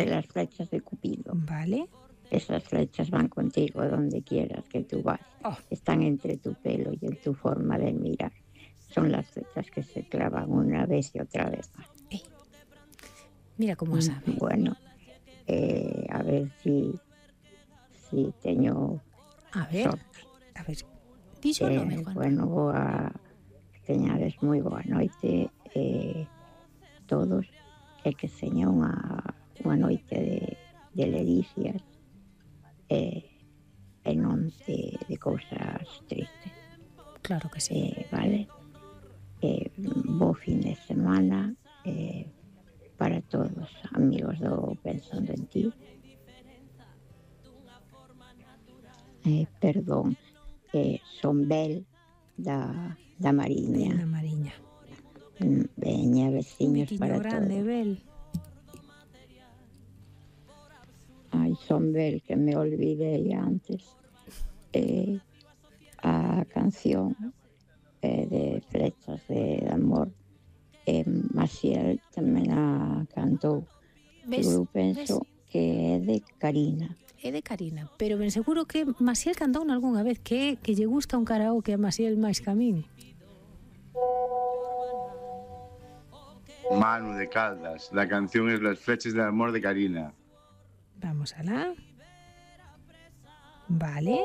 las flechas de Cupido. Vale. Esas flechas van contigo donde quieras que tú vayas. Están entre tu pelo y en tu forma de mirar. Son las flechas que se clavan una vez y otra vez más. Mira cómo sabe. Bueno, a ver si teño sorte. A ver, dixo o nome, Juan. Bueno, que teñades moi boa noite todos, e que seña unha noite de ledicias e non de cousas tristes. Claro que sí. Vale? Bo fin de semana para todos, amigos do Pensando en Ti. Perdón, son Bel da Mariña. Da Mariña. Veña, veciños para grande, todos. Bel. Ai, son Bel, que me olvidei antes. A canción de Flechas de Amor, Maciel tamén a cantou. Eu penso que é de Karina. É de Karina, pero ben seguro que Maciel cantou algunha vez, que lle gusta un karaoke a Maciel máis que a min. Manu de Caldas, la canción es Las flechas del amor de Karina. Vamos alá. Vale.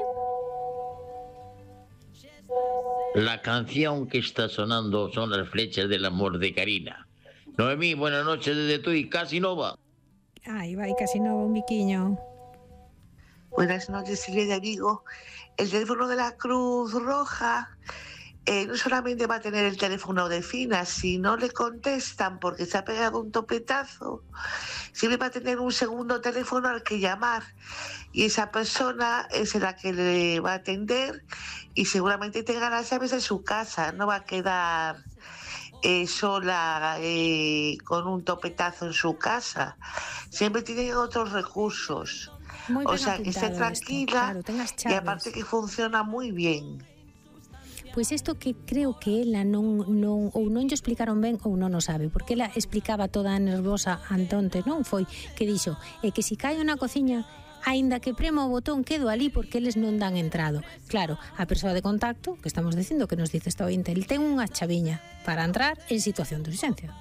La canción que está sonando son Las flechas del amor de Karina. Noemí, buenas noches desde Tui, casi nova. Ai, vai, casi nova, un biquiño. Buenas noches, Silvia de Vigo. El teléfono de la Cruz Roja no solamente va a tener el teléfono de Fina, si no le contestan porque se ha pegado un topetazo, siempre va a tener un segundo teléfono al que llamar y esa persona es la que le va a atender y seguramente tenga las llaves de su casa, no va a quedar sola con un topetazo en su casa, siempre tienen otros recursos. O sea, que esté tranquila y aparte que funciona muy bien. Pois isto que creo que ela non lle explicaron ben ou non o sabe, porque ela explicaba toda nervosa antonte, non foi? Que dixo, que si caio na cociña, aínda que premo o botón quedo ali porque eles non dan entrado. Claro, a persoa de contacto, que estamos dicindo que nos dice esta ointe, el ten unha chaviña para entrar en situación de urxencia.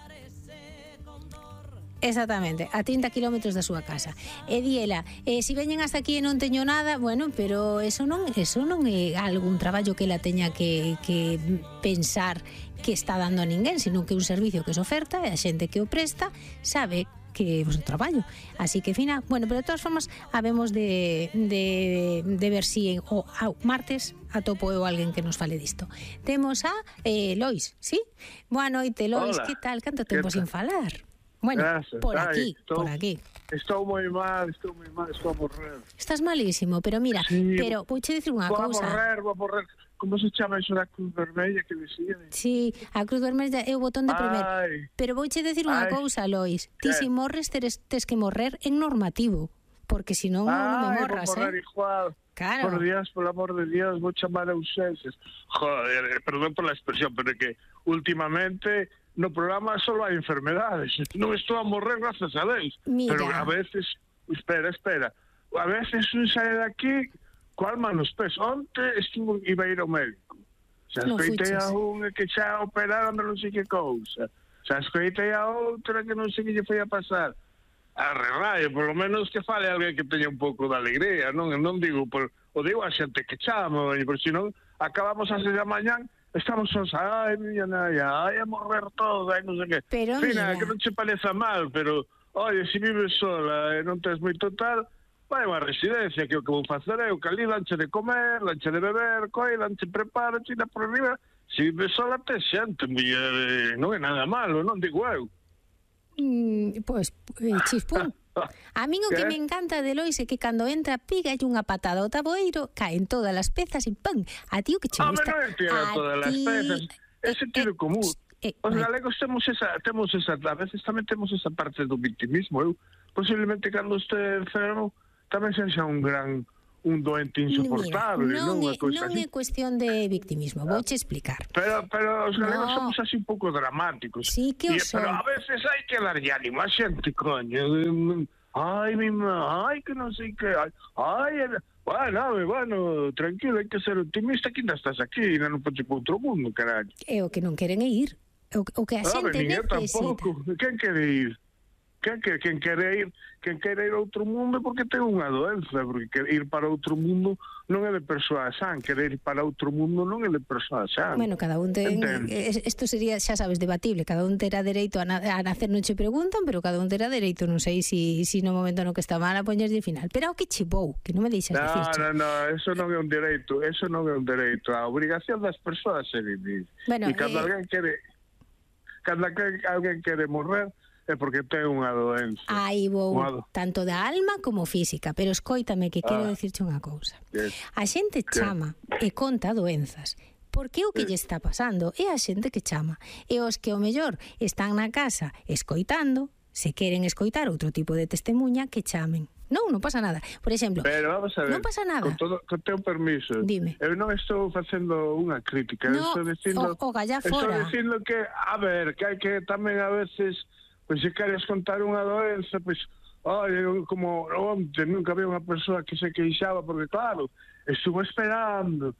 Exactamente, a 30 kilómetros da súa casa. E di ela, si veñen hasta aquí e non teño nada, bueno, pero eso non é algún traballo que ela teña que pensar que está dando a ninguén, sino que é un servicio que se oferta e a xente que o presta sabe que é o seu traballo. Así que, Fina, bueno, pero de todas formas habemos de ver si o martes atopo eu alguén que nos fale disto. Temos a Lois, ¿sí? Boa noite, Lois, que tal? Canto tempo sin falar? Bueno, gracias. Por aquí. Estou moi mal, estou a morrer. Estás malísimo, pero mira, sí, pero vouche dicir unha cousa. Vou a morrer. Como se chama iso da Cruz Vermella que decía? Sí, a Cruz Vermella é o botón de primer. Pero vouche dicir unha cousa, Lois. Ti se morres tes que morrer en normativo, porque senón non me morras, vou morrer igual. Claro. Por Dios, por amor de Dios, vou chamar a urgencias. Joder, perdón por la expresión, pero é que últimamente no programa solo hai enfermedades. Non estou a morrer, gracias a Deus. Mira. Pero a veces, espera, a veces un sae daqui coa alma nos pés. Onte iba a ir ao médico. Xa escoitei a unha que xa operaron de non sei que cousa. Xa escoitei a outra que non sei que lle foi a pasar. Arre, por lo menos que fale alguén que teña un pouco de alegría, non digo, o digo a xente que chama, porque senón acabamos a 6 da mañán, estamos sós, ai, miña naya, ai, a morrer todo, ai, non sei que. Pero Fina, mira, que non che pareza mal, pero, oye, se vives sola e non tens moito tal, vai a unha residencia, que o que vou facer eu, que ali danche de comer, danche de beber, danche prepara, china por arriba, se vives sola tes xente, non é nada malo, non digo eu. Pois, chispún. A min o que me encanta de Lois é que cando entra pigalle unha patada ao taboeiro, caen todas as pezas e pam, a ti o que che gusta. Non tira todas as pezas, é sentido común. Os galegos temos esa, a veces tamén temos esa parte do victimismo. Eu, posiblemente cando este enfermo tamén sexa un gran un doente insoportable. Mira, non é cuestión de victimismo, vouche explicar. Pero os galegos somos así un pouco dramáticos. Sí que o son. Pero a veces hai que darlle ánimo a xente, coño. Ai, que non sei que... Bueno, tranquilo, hai que ser optimista, que ainda estás aquí, ainda non podes ir para outro mundo, caralho. É o que non queren é ir. O que a xente necesita. Quen quere ir? Quen quere ir a outro mundo porque ten unha doenza, porque ir para outro mundo non é de persoa san, querer ir para outro mundo non é de persoa san. Bueno, cada un ten... Isto sería, xa sabes, debatible, cada un terá dereito a nacer, non che preguntan, pero cada un terá dereito, non sei si no momento no que está mal a poñerlle final. Pero o que chivou, que non me deixas dicir. No, eso non é un dereito, a obrigación das persoas é vivir. Bueno, e cando alguén quere morrer, é porque ten unha doenza. Aí vou, tanto da alma como física, pero escóitame que quero dicirche unha cousa. A xente chama e conta doenzas, porque o que lle está pasando é a xente que chama. E os que o mellor están na casa escoitando, se queren escoitar outro tipo de testemunha, que chamen. Non pasa nada. Por exemplo, pero vamos a ver, non pasa nada. Con teu permiso. Dime. Eu non estou facendo unha crítica, estou dicindo, estou dicindo que, a ver, que hai que tamén a veces, pois se queres contar unha doenza, pois, como onte nunca había unha persoa que se queixaba, porque claro, estuvo esperando,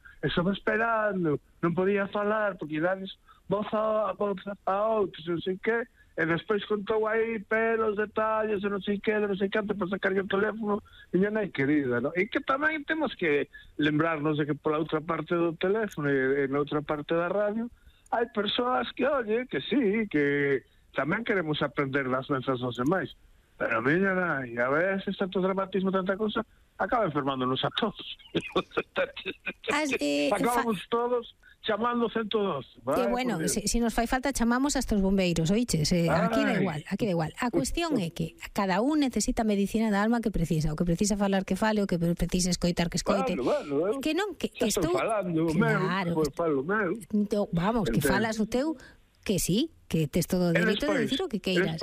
non podía falar, porque dades voz a outros, non sei que, e despois contou aí pelos, detalles, e non sei que, non sei canto, para sacar o teléfono, e non hai querida, non? E que tamén temos que lembrarnos de que pola outra parte do teléfono e na outra parte da radio hai persoas que, oye, que sí, que tamén queremos aprender das doenzas dos demais. Pero, miña nai, a veces tanto dramatismo, tanta cosa, acaba enfermándonos a todos. Acabamos todos chamando 112. Que bueno, se nos fai falta chamamos a estos bombeiros, oiches? Aquí da igual. A cuestión é que cada un necesita a medicina da alma que precisa. O que precisa falar que fale, o que precisa escoitar que escoite. Que non, que estou falando, claro, falo meu. Vamos, que falas o teu, que sí, que tes todo o dereito de dicir o que queiras.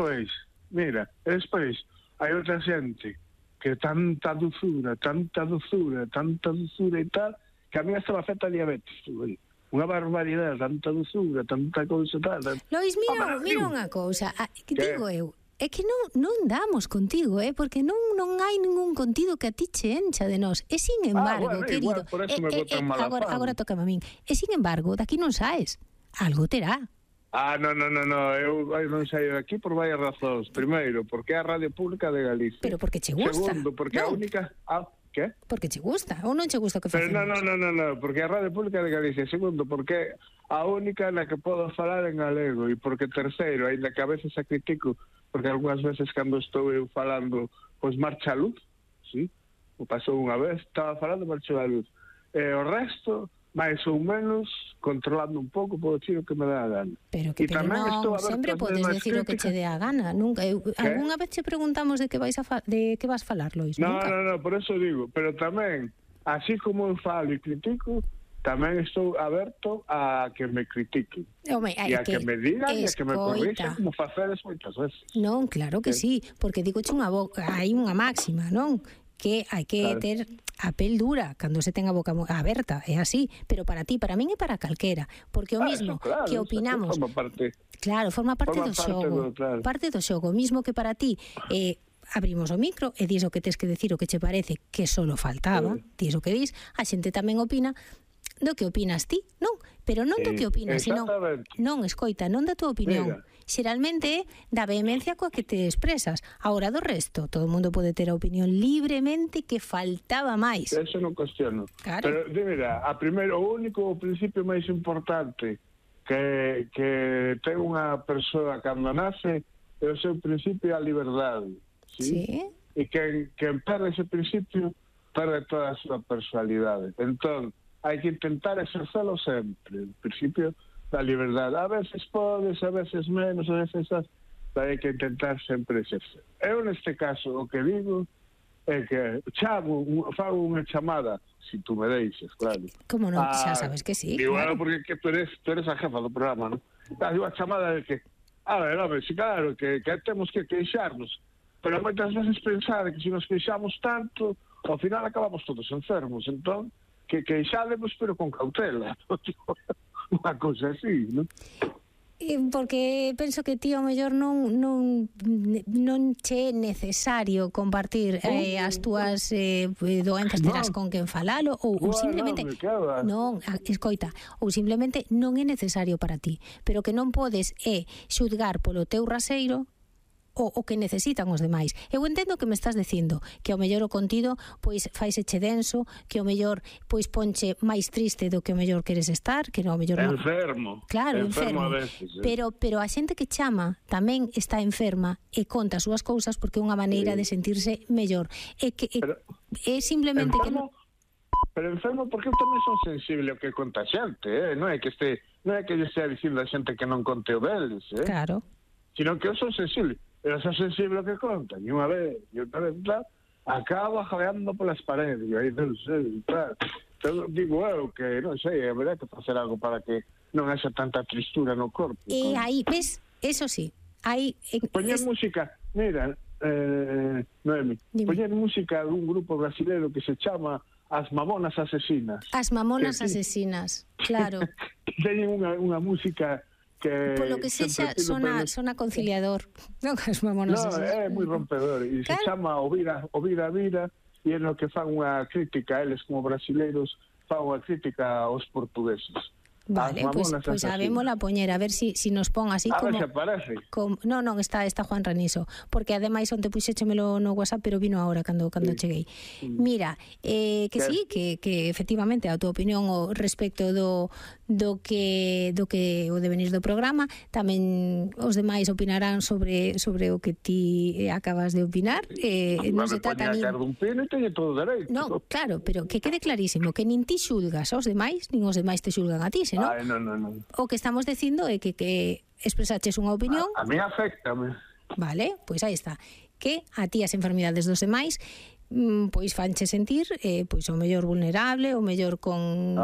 Despois hai outra xente que tanta dulzura e tal, que a mí estaba afecta a diabetes, unha barbaridade, tanta dulzura, tanta cousa tal. Lois, mira unha cousa, que digo eu, é que non damos contigo, porque non hai ningún contido que a ti che encha de nós. E sin embargo, querido, agora toca a min. E sin embargo, daqui non saes. Algo terá. Non, eu non saio daqui por varias razóns. Primeiro, porque é a Radio Pública de Galicia. Pero porque che gusta. Segundo, porque a única... que? Porque che gusta, ou non che gusta o que facemos? No, porque a Radio Pública de Galicia. Segundo, porque a única na que podo falar en galego. E porque terceiro, ainda que a veces a critico, porque algunhas veces cando estou eu falando, pois marcha a luz, sí? O pasou unha vez, estaba falando, marchou a luz. E o resto... máis ou menos, controlando un pouco, podo dicir o que me dá a gana. Pero non, sempre podes decir o que che dé a gana. Nunca, algunha vez che preguntamos de que vas falar, Lois? No, por eso digo, pero tamén, así como eu falo e critico, tamén estou aberto a que me critiquen. E a que me digan e a que me corrixan como facedes moitas veces. Non, claro que sí, porque digo hai unha máxima, non? Que hai que ter a pel dura cando se ten a boca aberta, é así, pero para ti, para min e para calquera, porque o mismo que opinamos, forma parte do xogo, parte do xogo, mismo que para ti abrimos o micro e dis o que tes que decir, o que che parece, que solo faltaba, dis o que dis, a xente tamén opina do que opinas ti, non? Pero non do que opinas, sino non, escoita, non da tua opinión. Xeralmente é da vehemencia coa que te expresas. Agora do resto, todo o mundo pode ter a opinión libremente, que faltaba máis. Eso non cuestiono. Claro. Pero, de verdad, o único principio máis importante que ten unha persoa cando nace é o seu principio a liberdade. Sí? E que perde ese principio perde toda a súa personalidade. Entón, hai que intentar exercelo sempre. O principio da liberdade. A veces podes, a veces menos, a veces hai que intentar sempre exercer. Eu, neste caso, o que digo é que fago unha chamada, se tú me deixes, claro. Como non? Xa sabes que sí. Digo, claro, porque tú eres a jefa do programa, non? Digo, a chamada de que, a ver, sí, claro, que temos que queixarnos, pero moitas veces pensar que se nos queixamos tanto, ao final acabamos todos enfermos, entón, que queixádemos, pero con cautela. Unha cousa así, non? Porque penso que ti ao mellor non che é necesario compartir as túas doenzas, terás con quen falalo ou simplemente non, escoita, ou simplemente non é necesario para ti, pero que non podes xudgar polo teu raseiro o que necesitan os demais. Eu entendo que me estás dicindo que ao mellor o contido pois faiseche denso, que ao mellor pois ponche máis triste do que ao mellor queres estar, que ao mellor enfermo. Claro, enfermo. A veces, pero a xente que chama tamén está enferma e conta as súas cousas porque é unha maneira de sentirse mellor. É simplemente enfermo, pero enfermo porque eu tamén son sensible ao que conta a xente, non é que lle estea dicindo a xente que non conte o deles, Claro. Sino que eu son sensible. Pero son sensible ao que conta, e unha vez, claro, acaba jadeando polas paredes, e aí non sei, claro. Entón, digo eu que, non sei, haberá que facer algo para que non haxa tanta tristura no corpo. E aí, ves, eso sí, aí... Poñer música, mira, Noemi, poñer música dun grupo brasileiro que se chama As Mamonas Asesinas. As Mamonas Asesinas, claro. Teñen unha música... Polo que sexa, sona conciliador. Non, as Mamonas Asesinas. É moi rompedor. E se chama O Vira, e é no que fan unha crítica, eles como brasileiros, fan unha crítica aos portugueses. Vale, pois sabémola poñer, a ver si nos pon así como... A ver se aparece. Non, está Juan Raniso, porque ademais onte puxéchemelo no WhatsApp, pero vino ahora cando cheguei. Mira, que sí, que efectivamente a tua opinión o respecto do que o devenir do programa, tamén os demais opinarán sobre o que ti acabas de opinar. Non se trata nin... Non, claro, pero que quede clarísimo que nin ti xulgas aos demais, nin os demais te xulgan a ti, ¿no? Ay, no. O que estamos dicindo é que expresaches unha opinión. A mí afectame. Vale, pois aí está. Que a ti as enfermidades dos demais pois fanche sentir pois o mellor vulnerable, o mellor con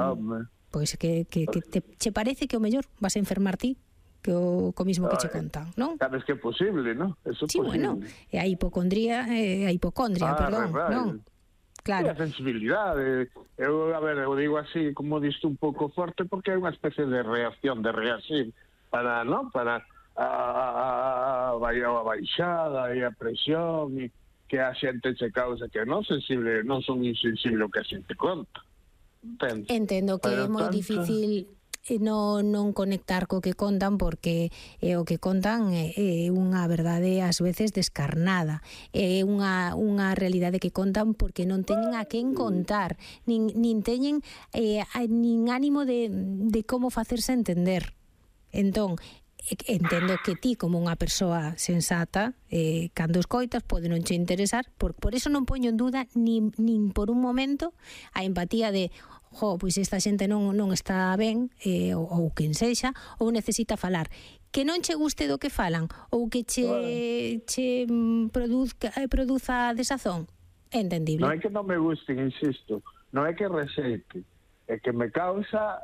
pois que che parece que o mellor vas a enfermar ti que co mismo que che contan, non? Sabes que é posible, non? Eso é posible. Bueno, é a hipocondria, perdón, non? Claro. A sensibilidade. Eu digo así, como diste un pouco forte, porque é unha especie de reacción, de reacir para, non? Para a baixada e a presión e que a xente che causa que non sensible, non son insensible o que a xente conta. Entendo que é moi difícil non conectar co que contan, porque o que contan é unha verdade ás veces descarnada, é unha realidade que contan porque non teñen a quen contar, nin teñen nin ánimo de como facerse entender. Entón, entendo que ti como unha persoa sensata, cando escoitas pode non che interesar, por eso non poño en duda nin por un momento a empatía de pois esta xente non está ben, ou quen sexa, ou necesita falar. Que non che guste do que falan, ou que che produza desazón, é entendible. Non é que non me guste, insisto, non é que rexeite, é que me causa,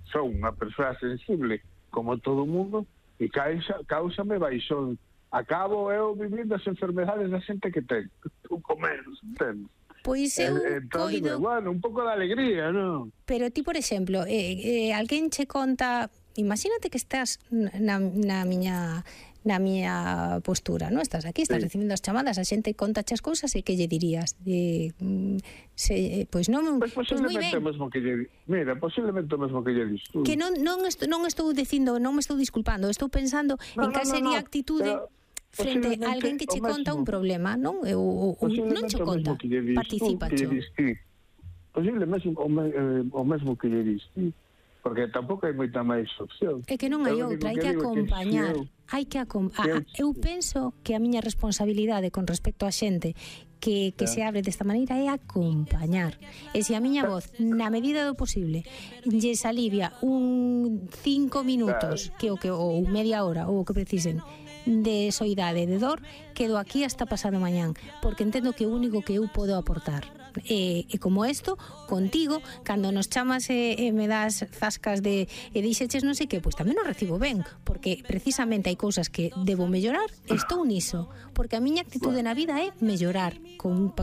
son unha persoa sensible, como todo o mundo, e cáusame baixón. Acabo eu vivindo as enfermedades da xente que ten, un menos, entendes? Pois eu coido... Bueno, un pouco de alegría, non? Pero ti, por exemplo, alguén che conta... Imagínate que estás na miña postura, non? Estás aquí, estás recibindo as chamadas, a xente conta as cousas e que lle dirías? Pois non... Posiblemente o mesmo que lle... Mira, posiblemente o mesmo que lle dis tú. Que non estou dicindo, non me estou disculpando, estou pensando en cal sería a actitude... frente a alguén que che conta un problema, non? Ou non che conta, participa cho. Posiblemente o mesmo que lle diste, porque tampouco hai moita máis opción. É que non hai outra, hai que acompañar. Eu penso que a miña responsabilidade con respecto a xente que se abre desta maneira é acompañar. E se a miña voz, na medida do posible, lles alivia un 5 minutos, ou media hora, ou o que precisen, de soidade, de dor, quedo aquí hasta pasado mañán, porque entendo que o único que eu podo aportar E como isto, contigo, cando nos chamas e me das zascas de e dixeches non sei que, pois tamén o recibo ben, porque precisamente hai cousas que debo mellorar, estou niso, porque a miña actitude na vida é mellorar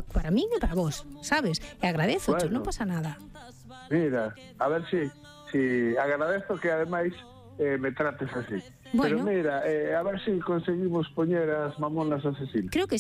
para min e para vos, sabes? E agradezo, non pasa nada. Mira, a ver si agradezo que ademais me trates así. Bueno. Pero mira, a ver si conseguimos poñer as mamonas asesinas. Creo que